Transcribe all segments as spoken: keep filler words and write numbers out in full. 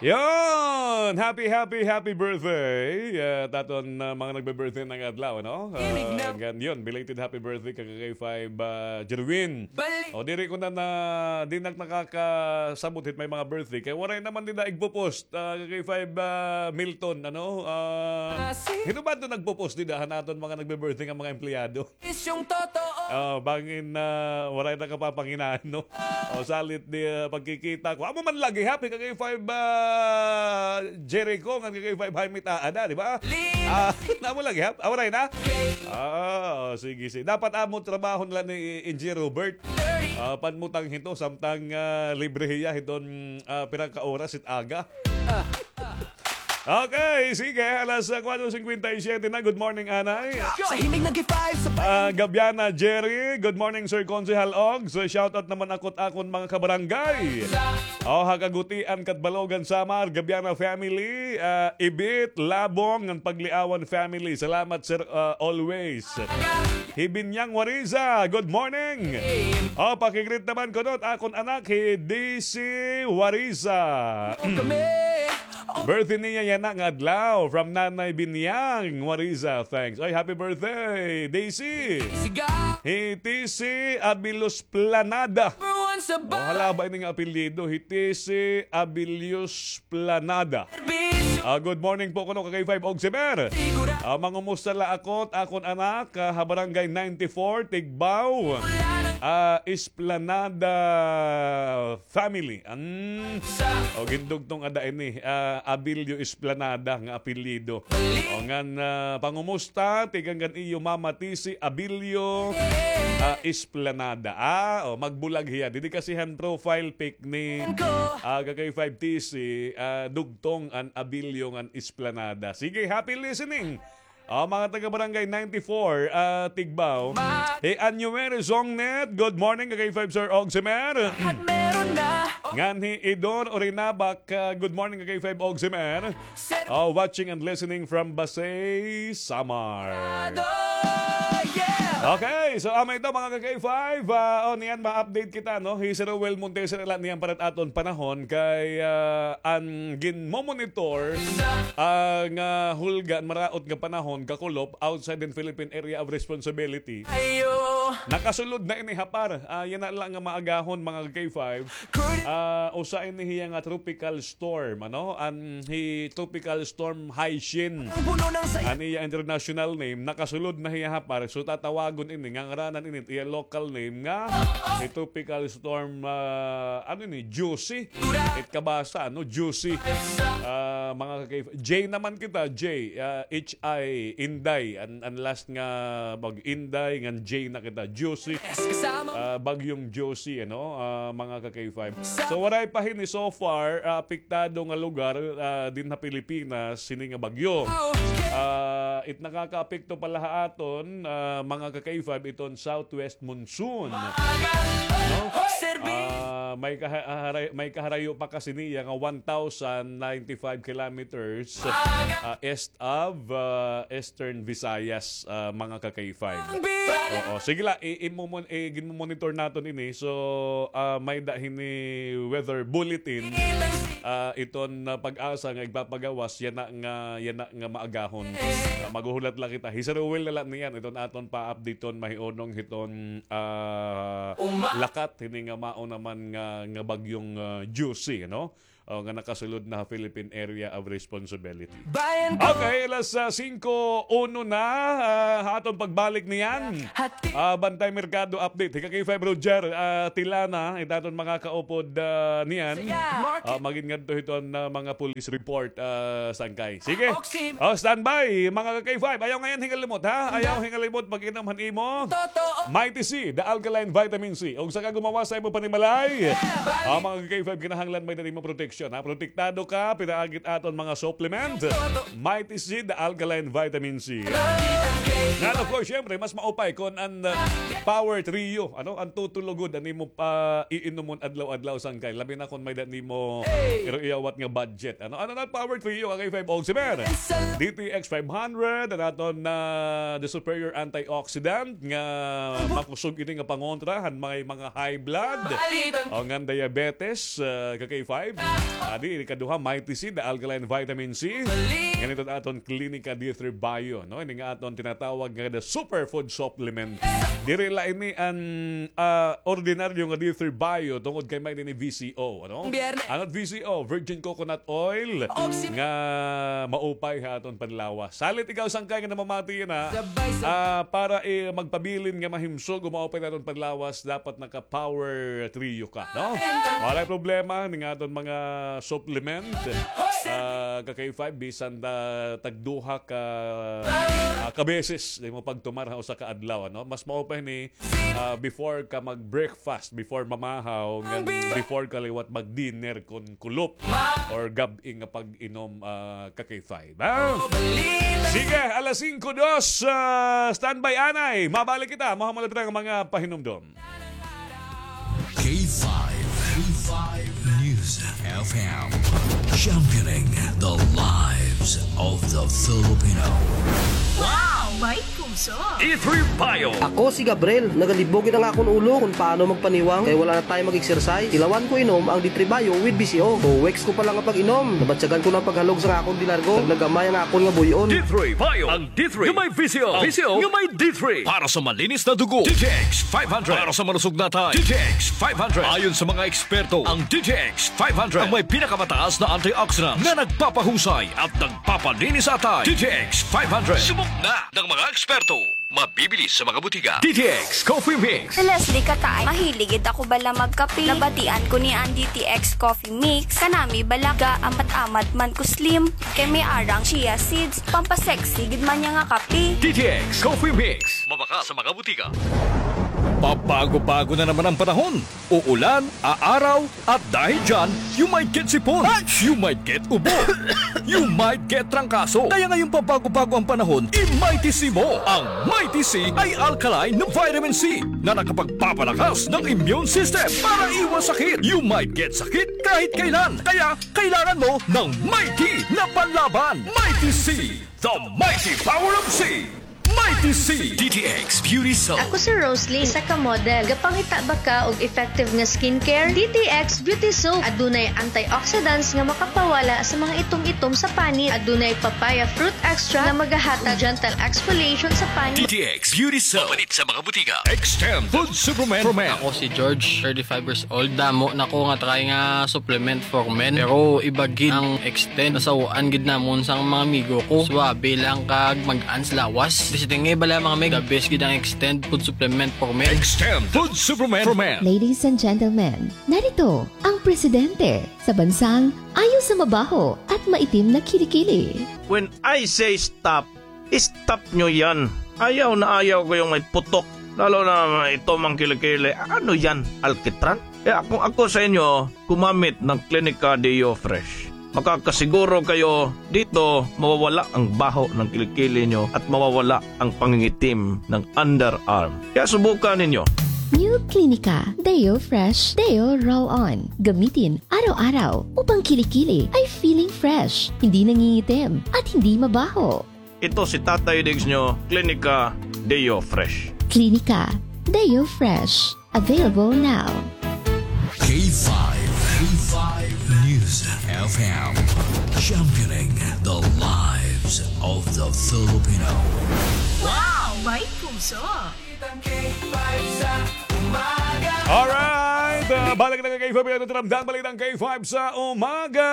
Yon! Happy, happy, happy birthday! Ah, ha aton, ah, mga nagbe-birthday ngada adlaw, no? Ah, ngan yon, belated happy birthday kay K five, ah, Jerwin. O, diri ko na, na, di na nakakasabot hit may mga birthday. Kay waray naman dida igpo-post, ah, K five, ah, Milton, ano? Ah, hino ba ito nagpo-post dida han aton mga nagbe-birthday nga mga empleyado? Isyong totoo. Oh, bangin na waray na kapapanginan, no? O, salit di, ah, pagkikita ko. Amo man lagi, happy ka kay five, ah, Jericho, ngan kay five Jaime Taada, di ba? Ah, amo lagi, ha? Ah, waray na? Ah, oh, sige, sige. Dapat amo trabaho nila ni Engineer Robert. Ah, panmutang hito, samtang, ah, libre hiya hiton, ah, pira ka oras it aga. Okay, sige, alas, ah, kwatro singkwenta y siyete na. Good morning, anay. Sa himig nag-five sa Ah, Gabiana Jerry, good morning, Sir Konsehal Og. So, shoutout naman ako ha akon mga kabarangay. O, ha Kagutian, Catbalogan, Samar, Gabiana family, ah, Ibit, Labong, ngan Pagliawan family. Salamat, sir, ah, always. Hibinyang Wariza, good morning. O, paki-greet naman kuno ha akon anak, hi Daisy Wariza. Birthday niya yana nga adlaw. From Nanay Binyang Wariza. Thanks. Ay, happy birthday, Daisy. Hi T C Abilos Planada. O, hala ba ini nga apelyido? Hi T C Abilos Planada. Ah, good morning po kuno kay five Ogsimer. Ah, mangumusta la ako ha akon anak, ah, ha Barangay ninety-four, Tigbao. Ah, Esplanada family. An, o, gindugtong ada ini, ah, Abilio Esplanada nga apelyido. O, ngan, ah, pangumusta, tikang kan iyo Mama T C Abilio, ah, Esplanada. Ah, o, magbulag hiya. Didi kasi han profile pic ni, ah, Kakay five T C, ah, dugtong an Abilio ngan Esplanada. Sige, happy listening. Ah, mga taga Barangay ninety-four, ah, Tigbao. Hi Anuere Zongnet, good morning, Kakay five Sir Ogsimer. Ngan hi Idor Orinabak, ah, good morning, Kakay five Ogsimer. Oh, watching and listening from Basey, Samar. Okay, so, ah, amo ito, mga ka-K five, ah, o, niyan ma-update kita, no? Hi Sir Roel Montesir, ala niyan para ha aton panahon kay, ah, an ginmomonitor, ah, nga hulga, maraot nga panahon, kakulop, outside in Philippine Area of Responsibility. Nakasulod na ini ha PAR. Ah, yana la nga maagahon, mga ka-K five. Ah, usa ini hiya nga tropical storm, ano? An hi Tropical Storm Haishin. An iya international name, nakasulod na hiya ha PAR. So, tatawagon ini, ngangaranan ini, iya local name nga, hi Tropical Storm, ah, ano ini, Juicy. It kabasa, no? Juicy. Ah, mga ka-K five, J naman kita, J, ah, H I, Inday. An, an last nga bag-, Inday, ngan J na kita, Juicy. Ah, Bagyong Juicy, ano, ah, mga ka-K five. So, waray pa hini so far, ah, apektado nga lugar, ah, dinhi ha Pilipinas, hini nga bagyo. Ah, it nakakaapekto pa la ha aton, ah, mga ka-K five, iton southwest monsoon. No? Ah, may kaha-, haray-, may kaharayo pa kasi niya nga one thousand ninety-five kilometers, ah, east of, ah, Eastern Visayas, ah, mga ka-K five. Oo, sige la, i-, imomon-, i-, ginmomonitor naton ini. So, ah, may-ada hini weather bulletin, ah, iton, ah, PAGASA nga igpapagawas yana nga, yana nga maagahon. Ah, maghuhulat la kita. Hi Sir Roel na la niyan, iton aton pa-updateon mahiunong hiton, ah, lakat hini nga mao naman nga, nga bagyong, ah, Juicy, no? O, nga nakasulod na ha Philippine Area of Responsibility. Okay, alas, ah, singko uno na, ah, ha aton pagbalik niyan. Ah, Bantay Merkado update. Hi ka-K five Roger, ah, Tilana, it aton mga kaupod, ah, niyan. Ah, magin ngadto hiton, ah, mga police report, ah, sangkay. Sige. O, standby, mga ka-K five. Ayaw ngay-an hingalimot, ha? Ayaw hingalimot, mag-inom han imo Mighty C, the alkaline vitamin C. Ug saka gumawas sa imo panimalay. Ah, mga ka-K five, kinahanglan may-ada nimo proteksyon, ha? Protektado ka, pinaagi it aton mga supplement. Mighty C, the alkaline vitamin C. Ngan, of course, syempre, mas maupay kon an, uh, Power Trio, ano? An tutulo gud an imo, ah, iinomon adlaw-adlaw sangkay. Labi na kon may-ada nimo iro-iyawat nga budget. Ano, ano na Power Trio, K five Ogsimer? D T X five hundred, an aton na the superior antioxidant nga makusog ini nga pangontra han may mga high blood o ngan diabetes, ah, ka-K five. Adi, ikaduha, Mighty C, the alkaline vitamin C. Ngan iton aton Klinika D three Bio, no? Ini nga aton tinatawag nga the superfood supplement. Diri la ini an, ah, ordinaryo nga D three Bio tungod kay may ini V C O, ano? An V C O, virgin coconut oil, nga maupay ha aton panlawas. Salit ikaw sangkay nga namamati yana, ah, para, eh, magpabilin nga mahimsog o maupay ha aton panlawas, dapat naka-power trio ka, no? Walay problema, ini nga aton mga supplement, ah, ka K five, bisan ta tagduha ka, ah, ka beses, di mo pagtumar ha usa ka adlaw, ano? Mas maupay ni, ah, before ka mag-breakfast, before mamahaw, ngan before ka liwat mag-dinner kon kulop or gab-i nga pag-inom, ah, ka K five, ha? Sige, alas singko dos, ah, standby anay. Mabalik kita, mahuman la dira nga mga pahinumdom. K five, K five News F M, championing the lives of the Filipino. Wow! May puso! D three Bio. Ako si Gabriel. Nagalibog gid an akon ulo kon paano magpaniwang kay wala na time mag-exercise. Ilawan ko inom ang D three Bio with V C O. Two weeks ko pa lang nga pag-inom, nabatyagan ko na an paghalog sa akon dinargo. Naglagamay ang akon nga buy-on. D three Bio. Ang D three nga may V C O. V C O nga may D three. Para sa malinis na dugo, D T X five hundred. Para sa malusog na atay, D T X five hundred. Ayon sa mga eksperto, ang D T X five hundred ang may pinakamataas na antioxidant na nagpapahusay at nagpapalinis sa atay. D T X five hundred. Subok na ng mga eksperto. Mabibili sa mga butika. D T X Coffee Mix. Si Leslie Kataay, mahilig gid ako bala magkape. Nabatian ko ni an D T X Coffee Mix. Kanami bala ga-amat-amat man ko slim. Kay may ara nga chia seeds, pampasexy gid man niya nga kape. D T X Coffee Mix. Mabakal sa mga butika. Pabago-bago na naman ang panahon. Uulan, aaraw, at dahil dyan, you might get sipon. You might get ubo. You might get trangkaso. Kaya ngayong pabago-bago ang panahon, i-Mighty C mo. Ang Mighty C ay alkaline na vitamin C na nakapagpapalakas ng immune system para iwas sakit. You might get sakit kahit kailan. Kaya kailangan mo ng Mighty na panlaban. Mighty C, the mighty power of C. Mighty C. D T X Beauty Soap. Ako si Roslyn, isa ka model. Gapangita ba ka og effective nga skincare? D T X Beauty Soap. Adunay antioxidants nga makapawala sa mga itom-itom sa panit. Adunay papaya fruit extract nga magahatag gentle exfoliation sa panit. D T X Beauty Soap. Mapalit sa mga butika. Extend Food Supplement for Men. Ako si George, thirty-five years old. Damo na ko nga try nga supplement for men. Pero iba gid ang Extend. Nasaw-an gid namon sa mga amigo ko. Suwabe lang kag magaan sa lawas. Basta nga bala, mga mig, the best gid ang Extend food supplement for men. Extend food supplement for men. Ladies and gentlemen, narito ang presidente sa bansang ayaw sa mabaho at maitim na kilikili. When I say stop, stop nyo yan. Ayaw na ayaw ko yung may putok. Lalo na ito mang kilikili. Ano yan? Alkitran? Kaya kung ako sa inyo, gumamit ng Clinica Deo Fresh. Makakasiguro kayo dito mawawala ang baho ng kilikili nyo at mawawala ang pangingitim ng underarm. Kaya subukan ninyo. New Clinica Deo Fresh Deo Roll On. Gamitin araw-araw upang kilikili ay feeling fresh, hindi nangingitim, at hindi mabaho. Ito si Tatay Diggs nyo, Klinika Deo Fresh. Klinika Deo Fresh. Available now. K five, K five News F M. Championing the lives of the Filipino. Wow! May puso! Balitang K five sa umaga. Alright! Ah, balik na ka K five, ito ramdam, Balitang K five sa umaga.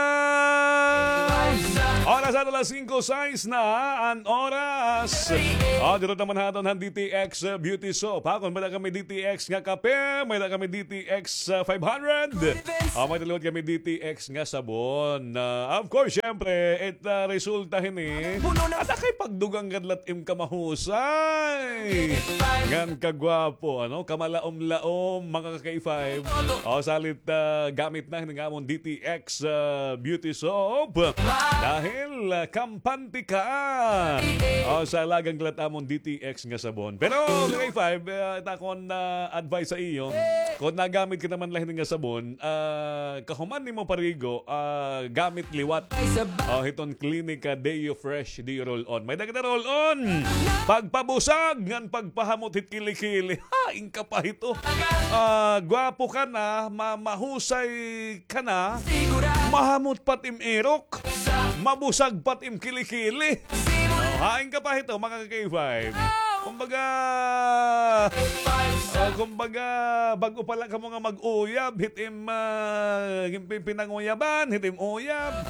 Oras ato alas singko sais na an oras. Oh, dito naman haton han D T X, uh, Beauty Soap. Ha, kung may-ada kami D T X nga kape, may-ada kami D T X, uh, five hundred. Oh, may-ada liwat kami D T X nga sabon. Uh, of course, syempre, it, uh, resulta hini. Ada kay pagdugang kadlat im kamahusay. Ngan kagwapo, ano? Kamalaom-laom, mga ka-K five. O, salit, ah, gamit na hini nga amon D T X, ah, Beauty Soap. Dahil, ah, kampante ka. O, sa lagang lat amon D T X nga sabon. Pero, mga ka-K five, ah, it akon, ah, advice sa iyo, kon nagamit ka naman la hini nga sabon, ah, kahuman nimo parigo, ah, gamit liwat. O, hiton Klinika Deo Fresh, Deo Roll On. May-ada kita Roll On. Pagpabusag ngan pagpahamot hit kilikili. Hain ka pa hito. Ah, gwapo ka na, ma-, mahusay ka na, mahamot pa it im irok, mabusag pa it im kilikili. Oh, hain ka pa hito, mga ka-K five. Kumbaga, oh, kumbaga, bag-o pa la kamo nga mag-uyab, hit im, ah, pi-, pinanguyaban, hit im uyab.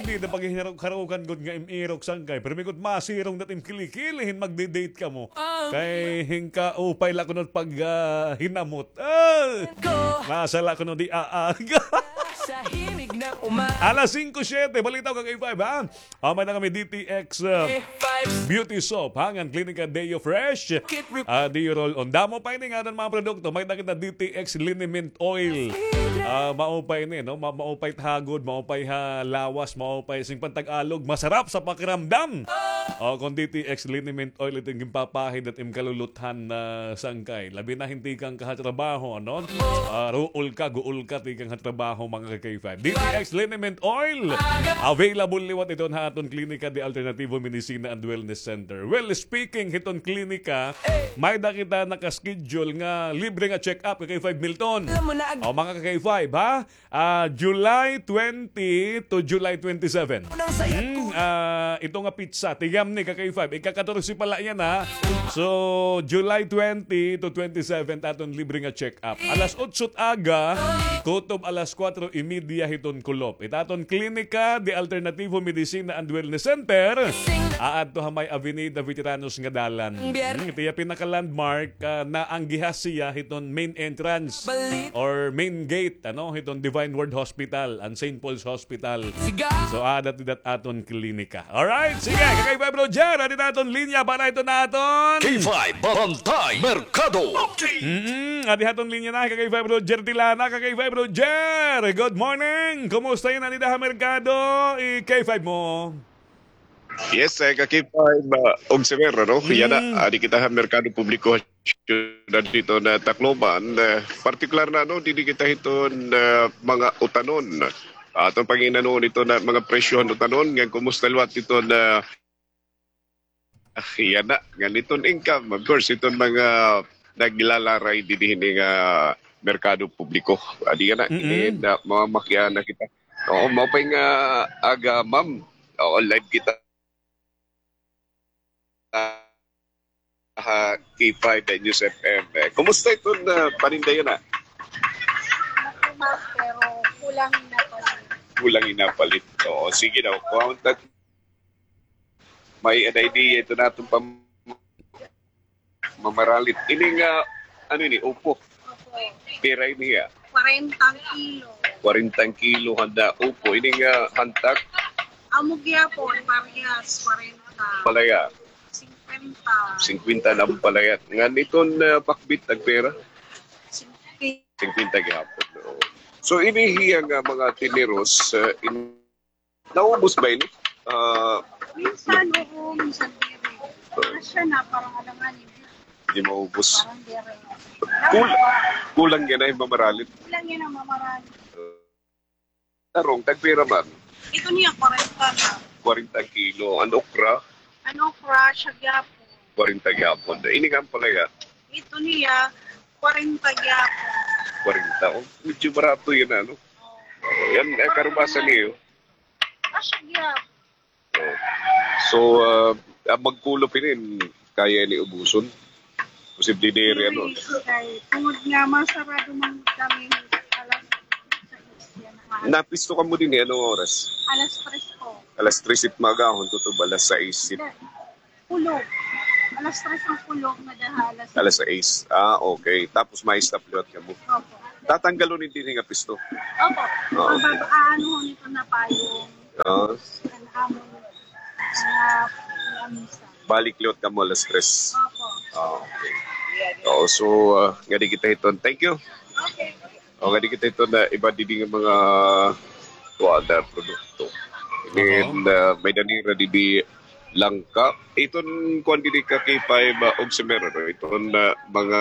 Diri na paghiharok-harokan gud nga im irok, sangkay. Pero migud masirong na it im kilikili, hin magdi-date kamo. Kay hin kaupay la kuno pag, ah, hinamot. Ah! Nasa la kuno di aaga. Alas singko siyete, balita ka-K five, ha? Ah, may-ada kami D T X, ah, Beauty Soap, ha? Ngan Klinika Deo Fresh. Ah, Deo Roll-On. Damo pa ini nga aton mga produkto. May-ada kita D T X Liniment Oil. Ah, maupay ini, no? Ma-, maupay it hagod, maupay ha lawas, maupay sing pantag-alog, masarap sa pakiramdam. O, kon D T X Liniment Oil, ito it ginpapahid it im kaluluthan na sangkay. Labi na hin tikang ka ha trabaho, ano? Ah, ruol ka, guol ka, tikang ha trabaho, mga ka-K five. D T X Liniment Oil, available liwat iton ha aton Klinika de Alternativo Medicina and Wellness Center. Well, speaking hiton klinika, may-ada kita naka-schedule nga libre nga check-up, ka-K five Milton. O, mga ka-K five, ha? Ah, July twenty to July twenty-seven. Hmm, ah, ito nga petsa, tigamni, ka-K five. Ika-katorse pa la yana, ha? So, July twenty to twenty-seven, it aton libre nga check-up. Alas otso it aga, kutob alas kuwatro y media hiton kulop. It aton Klinika de Alternativo Medicina and Wellness Center, aadto ha may Avenida Veteranos nga dalan. Hmm, ito iya pinaka-landmark, ah, naanggihas hiya hiton main entrance or main gate, ano, hiton Divine Word Hospital and Saint Paul's Hospital. So, aada it aton klinika. Alright, sige, ka-K five Roger, adi it aton linya para hiton aton K five Barangay Merkado. Mm, adi it aton linya na, ka-K five Roger Tilana, ka-K five Roger. Good morning. Kumusta yana dida ha merkado? I-K five mo. Yes, eh, ka-K five, ah, Ogsever, no? Mm. Yana, adi kita ha merkado publiko ha siyudad hiton Tacloban. Eh, partikular na, no, didi kita hiton mga utanon. Aton pangin-anon hiton mga presyo han utanon. Ngan kumusta liwat hiton, ah, yana, ngan hiton income, of course, hiton mga naglalaray didi hini nga merkado publiko. Adi yana, mm-mm, ini na, mamakiana kita. Oo, maupay nga aga, ma'am. Oo, live kita ha K five News F M. Eh, kumusta iton paninda yana? Matumal, pero kulang hin napalit. Kulang hin napalit. Oo, sige daw. Kung may idea iton aton pam-, mamaralit. Ini nga, ano ini, upo? Opo. Pira ini hiya? Kwarenta an kilo. Kwarenta an kilo handa upo. Ini nga hantak? Amo gihapon, parehas, kwarenta. Ampalaya? Singkwenta. Singkwenta an ampalaya. Ngan iton, ah, pakbit, tagpira? Singkwenta. Singkwenta gihapon, oo. So, ini hiya nga mga tiniros, ah, in-, naubos ba ini? Ah, minsan, oo, minsan diri. Asya na, parang alanganin. Di maubos. Parang diri. Kul-, kulang yana hin mamaralit. Kulang yana hin mamaralit. Tarong, tagpira man? Iton hiya, kwarenta na. Kwarenta kilo. An okra? An okra, asya gihapon. Kwarenta gihapon. Ini nga ampalaya? Iton hiya, kwarenta gihapon. Kwarenta. Oh, medyo barato yana, ano? Oo. Yana, eh, karubasa niyo. Asya gihapon. So, ah, an magkulop hini, kaya ini ubuson? Posible diri, ano? Diri, kay tungod nga masarado man kami alas sais yana. Napisto kamo dinhi, anong oras? Alas tres po. Alas tres it maagahon, kutob alas sais it. Kulop. Alas tres an kulop, ngada ha alas sais. Alas sais. Ah, okay. Tapos ma-stop liwat kamo. Opo. Tatanggalon ini dinhi nga pisto? Opo. Oo. Mabab-, aanuhon ito na payong. Oo. An amon, ah, lamisa. Balik liwat kamo alas tres. Opo. Ah, okay. Oo, so, ah, ngadi kita hiton. Thank you. Okay. O, ngadi kita hiton iba didi nga mga kuan, ah, produkto. Then, ah, may-ada nira didi langka. Iton kuan didi ka K five, ah, Ogsever, no? Iton, ah, mga,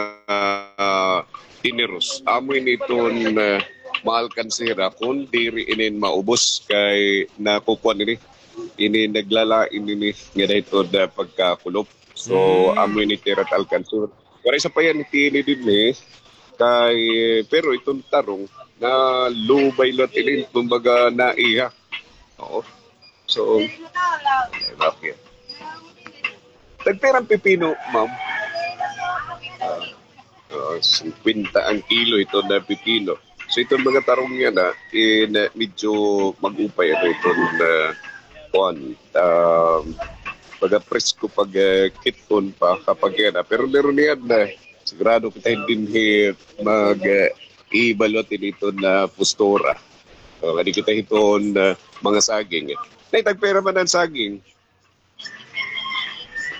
ah, tiniros. Amo ini iton, ah, maalkanse hira kon diri ini maubos kay nakukuan ini. Ini naglalain ini ngada hiton pagkakulop. So, amo ini it ira alkanse. Waray sapayan ni Tini dinhi, kay, pero iton tarong, nalubay la tinin, kumbaga, naiha. Oo. So, okay. Tagpira an pipino, ma'am? Ah, ah, singkwenta an kilo iton pipino. So, iton mga tarong yana, in, ah, medyo mag-upay, ano, iton, ah, kuan, ah, baga presko pag, ah, kit-on pa kapag yana. Pero meron niyan na, sigurado kita dinhi mag, ah, ibalut iton, ah, postura. O, kadi kita hiton, ah, mga saging. Nay, tagpira man an saging?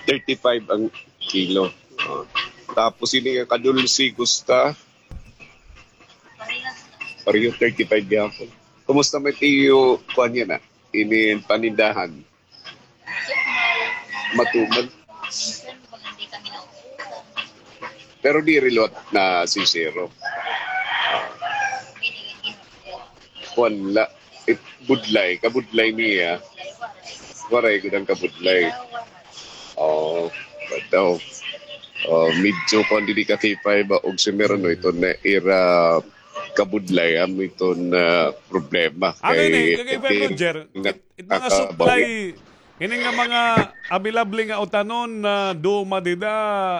Thirty-five an kilo. O. Tapos ini nga kadulsi, gusta? Pareho, thirty-five gihapon. Kumusta man it iyo, kuan yana, ini panindahan? Matumal. Pero diri liwat na sincero. Kuan la, it, budlay, kabudlay niya. Waray gud an kabudlay. O, daw. O, medyo kuan didi ka K five, ah, og si Merano iton ira kabudlay, amo iton, ah, problema. Ano ini, kay K five, Roger? It, it mga supply, ini nga mga available nga utanon na duma dida,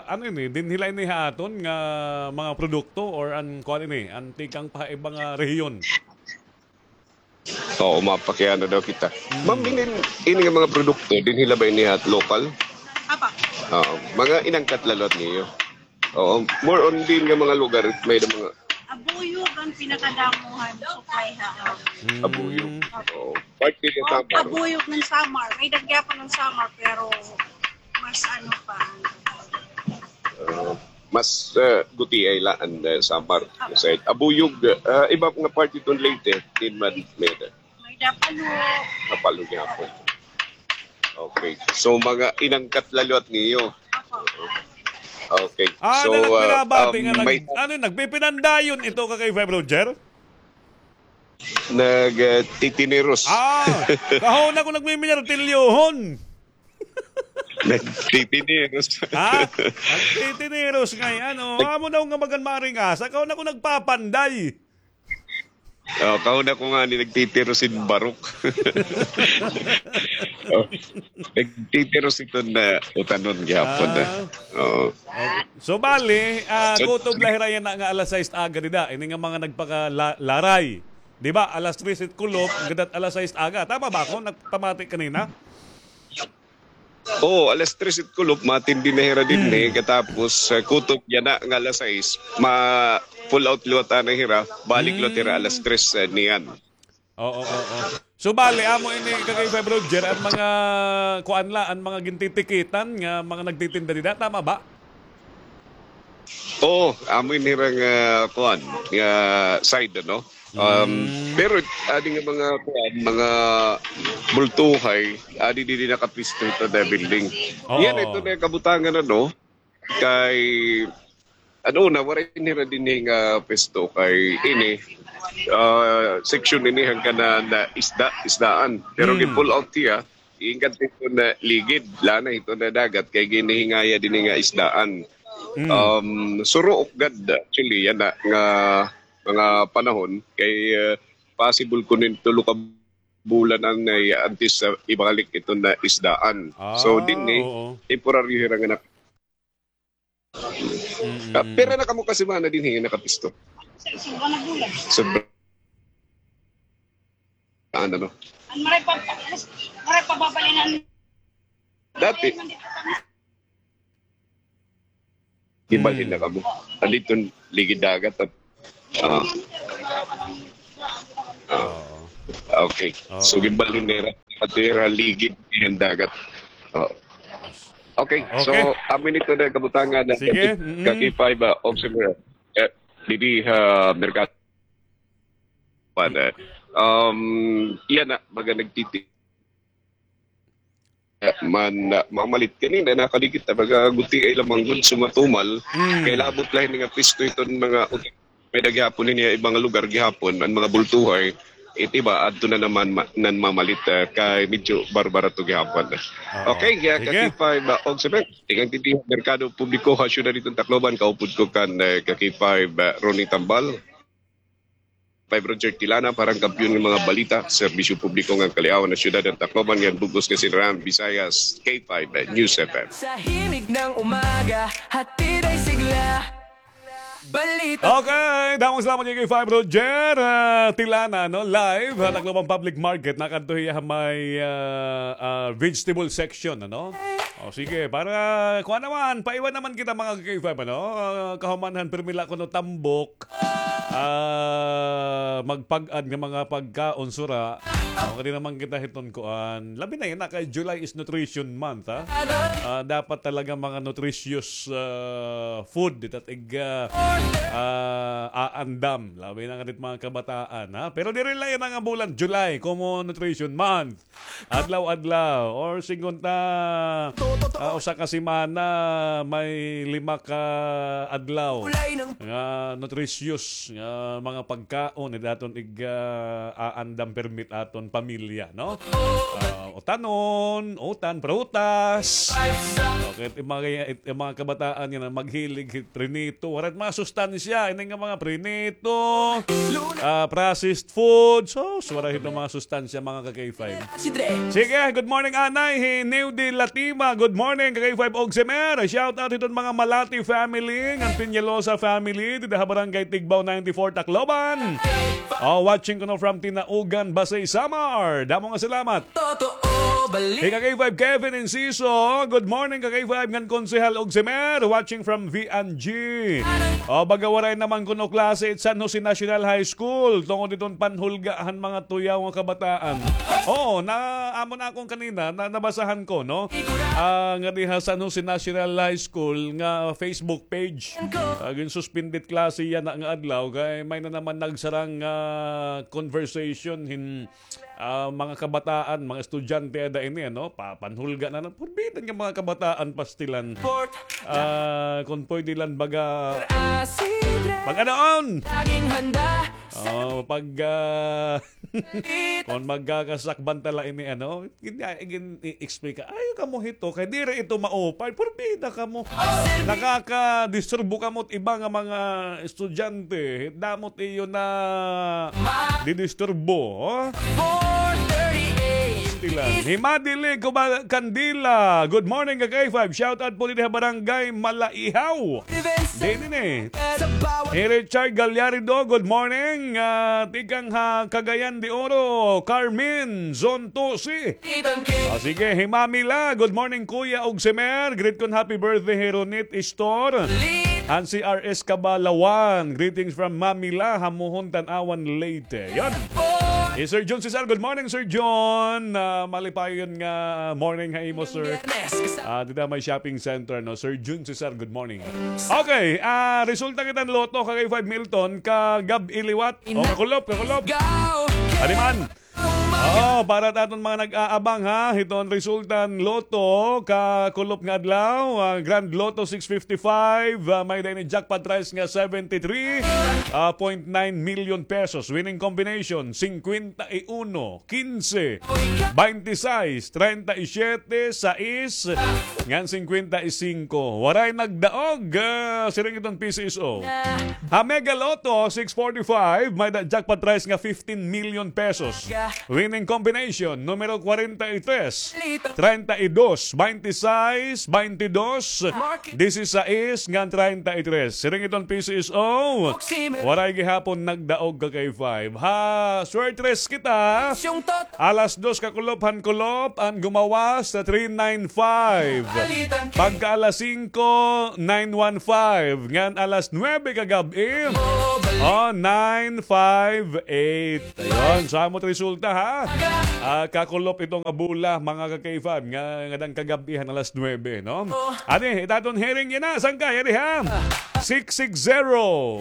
ano ini, dinhi la ini ha aton nga mga produkto or an kuan ini, an tikang pa iba nga rehiyon? Oo, mapakiana daw kita. Hmm. Ma'am, ini, ini nga mga produkto, dinhi la ba ini ha aton lokal? Apa? Oo, mga inangkat la liwat niyo. Oo, more on din nga mga lugar, may da mga Abuyog an pinakadamo han supply ha. Hmm. Abuyog. Oo. Part din sa Samar. Abuyog ng Samar. May da gihapon ng Samar, pero mas ano pa. Ah, mas, ah, gutiay la an, ah, Samar. Sa Abuyog, ah, iba nga part iton Leyte, din man, may da. May da Palo. Napalo gihapon. Okay. So, mga inangkat la liwat niyo. Okay. Ah, so, na, ah, nagbinabati um, nga nag-, may ano, nagpipinandayon ito ka kay Five Roger? Nag, ah, titiniros. Ah, kahon ako nagmiminertilyohon. Nagtitiniros. Ha? Nagtitiniros ngay-an, o. Amo daw nga magan maringasa. Kahon ako nagpapanday. O, kahon ako ngani nagtitiro sin barok. O, nagtitiro sin iton utanon gihapon na. Ah. Oo. Okay. So, bali, ah, kutob la hira yana nga alas sais aga dida. Ini nga mga nagpaka-, la-, laray. Di ba? Alas tres it kulop, gadat alas sais aga. Tama ba ako? Nagpamati kanina? Oo, alas tres it kulop, matindi na hira dinhi, katapos, ah, kutob yana nga alas sais, ma-pull out liwat anay hira, balik liwat hira alas tres, ah, niyan. Oo, oo. So, bali, amo ini, ka kay Five Roger, an mga, kuan la, an mga gintitikitan nga mga nagtitinda dida, tama ba? Oo, amo ini hira nga, kuan, nga side, ano? Um, pero adi nga mga, kuan, mga bultuhay, adi didi nakapisto ito na building. Oo. Yana ito na kabutangan, ano? Kay, ano na, waray nira dinhi nga pwesto kay ini, ah, section ini han kanan na isda, isdaan. Pero gi-pull out hiya, iingat ito na ligid, lanay ito na dagat, kay ginhihingaya dinhi nga isdaan. Um, suruok gad, actually, yana nga mga panahon, kay, ah, possible kuno hin tulo ka bulan anay antes sa ibalik ito na isdaan. So, dinhi, temporaryo hira nga nak- Ah, pira na kamo ka semana dinhi nakapisto? Sobra na bulan. Sobra. Ano, no? An maray pa, maray pa babalinan. Dati. Gibalhin na kamo. Andito, ligid dagat, ah. Ah. Okay. So, gibalhin nira. Pati ra ligid han dagat. Oh. Okay. So, amo ini ito na kabutangan na ka K five, ah, observer. Eh, didi ha merkado. Um, yana, baga nagtiti- man, ah, mamalit kanina, nakaligit na, baga gutiay la man gud, so matumal. Kay labot la hini nga pisto iton mga, may-ada gihapon hini iba nga lugar gihapon, an mga bultuhay, It iba, adto na naman ma-, nan mamalit, ah, kay medyo barbarato gihapon. Oo. Okay, ah, sige. Ka-K five, ah, Ogsemer, tikang dinhi ha Merkado Publiko ha siyudad hiton Tacloban, kaupod ko kan, ah, ka-K five, ah, Ronnie Tambal. Five Roger Tilana, para han kampiyon nga mga balita, serbisyo publiko ngan kaliawan ha siyudad han Tacloban, ngan bug-os nga Sinran Visayas, K five, ah, News F M. Sa himig ng umaga, hatid ay sigla. Balita. Okay, damo nga salamat kay K five Roger, ah, Tilana, no? Live ha Tacloban Public Market, nakadto hiya ha may, ah, ah, vegetable section, ano? O, sige, para kuan naman, paiwan naman kita, mga ka-K five, ano? Ah, kahuman han pirmi la kuno tambok, ah, magpag-add nga mga pagkaon, sura. O, kadi naman kita hiton kuan. Labi na yana kay July is Nutrition Month, ha? Ah, dapat talaga mga nutritious, ah, food, it at ig, ah, ah, aandam. Labi na nga dit mga kabataan, ha? Pero diri la yana nga bulan, July, komo Nutrition Month. Adlaw-adlaw, or sigon ta, ah, usa ka semana, may lima ka adlaw nga nutritious nga mga pagkaon, it aton ig, ah, aandam pirmi it aton pamilya, no? Ah, utanon, utan, prutas. Okay, it mga, it mga kabataan nga maghilig hit prinito. Waray it mga sustansya, ini nga mga prinito, ah, processed food. So, waray hito mga sustansya, mga ka-K five. Sige, good morning, anay. Hi New de Latima. Good morning, ka-K five Ogsemer. Shout out hiton mga Malati family, ngan Peñalosa family, dida ha Barangay Tigbao ninety-four, Tacloban. Oh, watching kuno from Tinaugan, Basey, Samar. Damo nga salamat. Totoo, balik. Hi ka-K five Kevin Inciso. Good morning, ka-K five ngan Konsehal Ogsemer. Watching from V and G. O, baga waray naman kuno klase it San Jose National High School tungod hiton panhulga han mga tuyaw nga kabataan. Oo, na, amo na akon kanina, na, nabasahan ko, no? Ah, nga diha San Jose National High School nga Facebook page. Ah, ginsuspended klase yana nga adlaw kay may na naman nagsarang, ah, conversation hin ah, mga kabataan, mga estudyante ada ini, ano, pa-, panhulga na, ano, purbidan nga mga kabataan pastilan. Ah, kon pwede lang baga, pag-adaon. Oh, pag, ah, kon magkakasakban tala ini, ano, gin-, gin-, i-explain ka, ayaw kamo hito, kay diri ito maupay, purbida kamo. Nakakadisturbo kamo it iba nga mga estudyante, damo it iyo nadidisturbo, oh. Sila. Hi Madili Kuba-, Candila. Good morning, ka-K five. Shout out po didi ha Barangay Malaihaw. Didi ni. Hi Richard Galyarido, good morning. Ah, tikang ha Cagayan de Oro, Carmen, Zone two C. Ah, sige, hi Mami La. Good morning, Kuya Ogsemer. Greet kon happy birthday hi Ronit Istor. Han C R S Cabalawan. Greetings from Mami La, Hamuhon, Tanauan, Leyte. Yon. Hi Sir Jun Cesar. Good morning, Sir Jun. Ah, malipayon nga morning ha imo, sir. Ah, dida may shopping center, no? Sir Jun Cesar, good morning. Okay, ah, resulta kita han lotto, ka-K five Milton, kagab-i liwat. O, kakulop, kakulop. Adi man. Oh, para ta aton mga nag-aabang, ha, hiton resulta han lotto, kakulop nga adlaw, ah, Grand Lotto six fifty-five, ah, may-ada ini jackpot prize nga seventy-three, ah, point nine million pesos. Winning combination, cincuenta y uno, quince, veintiséis, treinta y siete, sais, ngan cincuenta y cinco. Waray nagdaog, ah, siring iton P C S O. Ha Mega Lotto six forty-five, may-ada jackpot prize nga fifteen million pesos. Winning combination, numero kwarenta y tres, treinta y dos, veintiséis, veintidós, dieciséis, ngan treinta y tres. Siring iton P C S O, waray gihapon nagdaog, ka-K five. Ha, swerte kita. Alas dos kakulop han kulop, an gumawas sa three nine five. Pagka alas singko, nine one five. Ngan alas nuwebe kagab-i, oh, nine five eight. Ayon, sa amo it resulta, ha? Ah, kakulop iton nga bola, mga ka-K five, nga, ngada han kagab-i han alas nuwebe, no? Adi, it aton hearing yana, sangkay, adi, ha? Six six zero,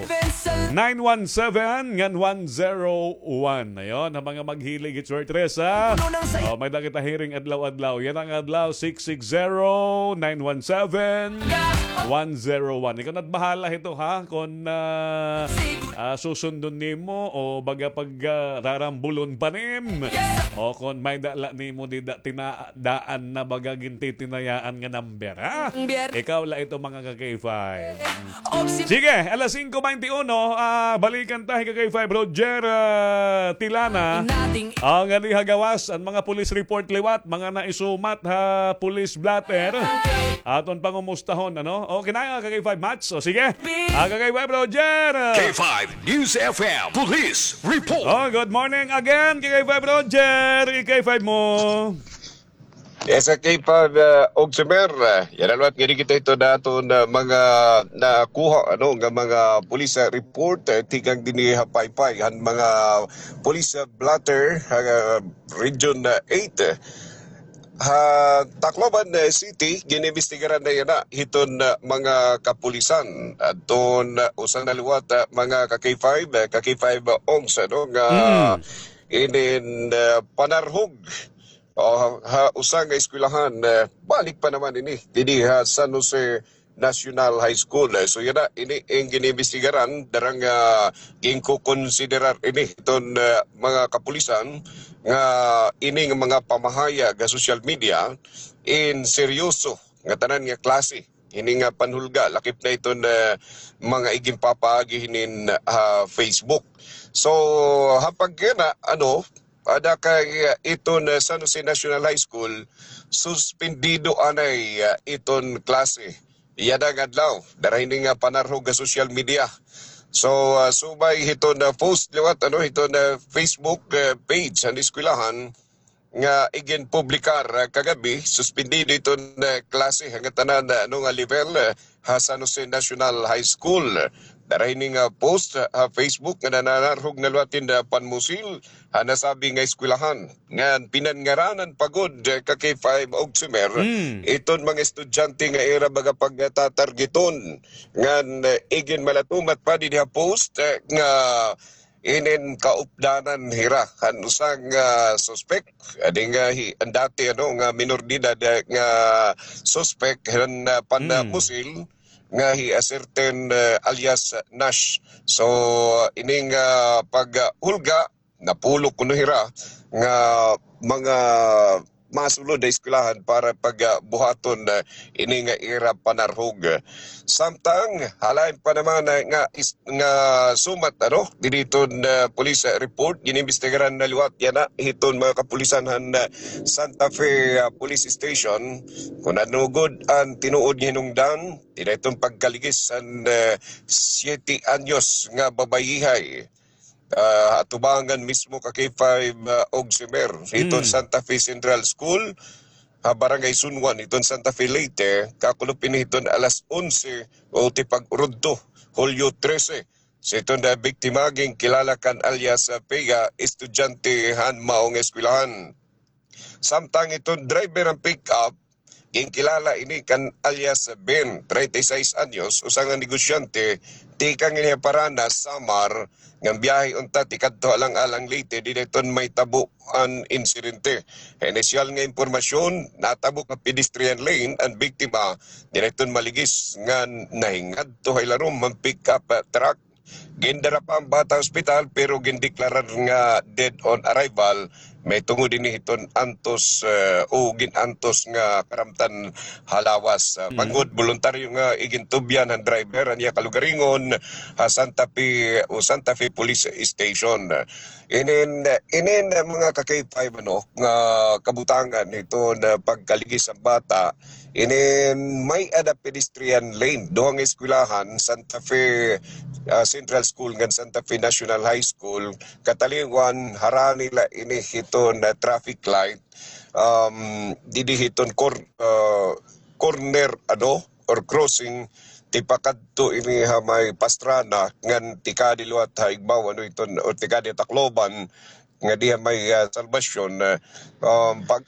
nine one seven, ngan one zero one. Ayon, ha mga maghilig hit swerte, ha? Oh, may-ada kita hearing adlaw-adlaw. Yana nga adlaw, six six zero, nine one seven, one zero one. Ikaw na't bahala hito, ha? Kon, ah, ah, susundon nimo o baga pag, ah, rarambulon pa nim. O kon may dala nimo dida tina-, daan na baga gintitinayaan nga number, ha? Ikaw la ito, mga ka-K five. Sige, alas singko baynte uno, ah, balikan ta hi ka-K five Roger, ah, Tilana. Ah, nga diha gawas, an mga police report liwat, mga naisumat ha police blotter. Aton pangumustahon, ano? Okay na, ka-K five Mats. O, sige. Ah, ka-K five Roger. K five News F M Police Report. Oh, good morning again, ka-K five Roger. I-K five mo. Yes, ka-K five, uh, Ogsimer, uh, yana liwat ngani kita ito na aton, uh, mga nakuha, ano, nga mga police, uh, report, uh, tikang dinhi ha Paypay, han mga police, uh, blotter, uh, Region, uh, eight, uh, ha Tacloban, uh, City, ginimbestigaran na yana hiton, uh, mga kapulisan. Adton, uh, usa na liwat, uh, mga ka-K five, uh, ka-K five, uh, Ogs, ano, nga inin, uh, panarhog o, ha, ha usa nga eskwelahan, eh, balik pa naman ini didi ha San Jose National High School. Eh, so, yana, ini an ginimbestigaran, dara nga ginkukonsiderar ini hiton, eh, mga kapulisan nga ini nga mga pamahayag ha social media in seryoso nga tanan nga klase. Ini nga panhulga, lakip na iton, eh, mga iginpapaagi hinin, ah, Facebook. So, ha pagkana, ano, ada kay, ah, iton, ah, San Jose National High School, suspendido anay, ah, iton klase. Yana nga adlaw, dara hini nga panarhog ha social media. So, ah, subay hiton, ah, post liwat, ano, hiton, ah, Facebook, ah, page han eskwelahan nga iginpublikar, ah, kagabi, suspendido iton, ah, klase han ngatanan, ah, ano nga level, ah, ha San Jose National High School. Dara hini nga post ha Facebook nga nananarhog na liwat hin, ah, panmusil ha nasabi nga eskwelahan. Ngan pinangaranan pa gud, eh, ka-K five Ogsimer, iton mga estudyante nga ira baga pagtatargeton. Ngan, eh, iginmalatumat pa didi ha post, eh, nga inin kaupdanan hira han usa nga suspek. Adi nga hi-, an dati, ano, nga minor de edad, eh, nga suspek han, ah, panmusil nga hi a certain, eh, alias Nash. So, ining, ah, paghulga, napulok kuno hira nga mga masulod ha eskwelahan para pag, ah, buhaton, ah, ini nga ira panarhog. Samtang, halain pa naman, ah, nga is-, nga sumat, ano, didi hiton, ah, police, ah, report, ginimbestigaran na liwat yana hiton mga kapulisan han, ah, Santa Fe, ah, Police Station. Kon ano gud an tinuod nga hinungdan, dida hiton pagkaligis han, ah, siyete anyos nga babayihay. Ah, atubangan mismo ka-K five, ah, Ogsimer, hiton Santa Fe Central School, ha Barangay Sunwan, hiton Santa Fe, Leyte, kakulop ini hiton alas onse o tipag-urudto, Hulyo trese. Sa iton nga biktima, ginkilala kan alias, ah, Pega, estudyante han mao nga eskwelahan. Samtang iton driver han pick-up, ginkilala ini kan alias Ben, treinta y seis anyos, usa nga negosyante, tikang ini ha Paranas, Samar, nga biyahe unta tikadto ha Alang-alang, Leyte, dida iton mahitabo an insidente. Ha inisyal nga impormasyon, natabok ha pedestrian lane an biktima, dida iton maligis ngan nahingadto ha ilarom han pick-up, ah, truck. Gindara pa an bata ha ospital, pero gindeklarar nga dead on arrival, mahitungod ini hiton antos, eh, o gin-antos nga karamtan ha lawas. Ah, manggod, boluntaryo nga igintubyan han driver an iya kalugaringon ha Santa Fe o Santa Fe Police Station. Inin, inin, eh, mga ka-K five, ano, nga kabutangan hiton pagkaligis han bata, inin may-ada pedestrian lane, duha nga eskwelahan, Santa Fe, ah, Central School ngan Santa Fe National High School, katalingwan, harani la ini hiton traffic light, um, didi hiton cor-, ah, corner, ano, or crossing, tipakadto ini ha may Pastrana, ngan tikadi liwat ha igbaw, ano, iton, o tikadi ha Tacloban, nga diha may, ah, Salvacion, ah, um, pag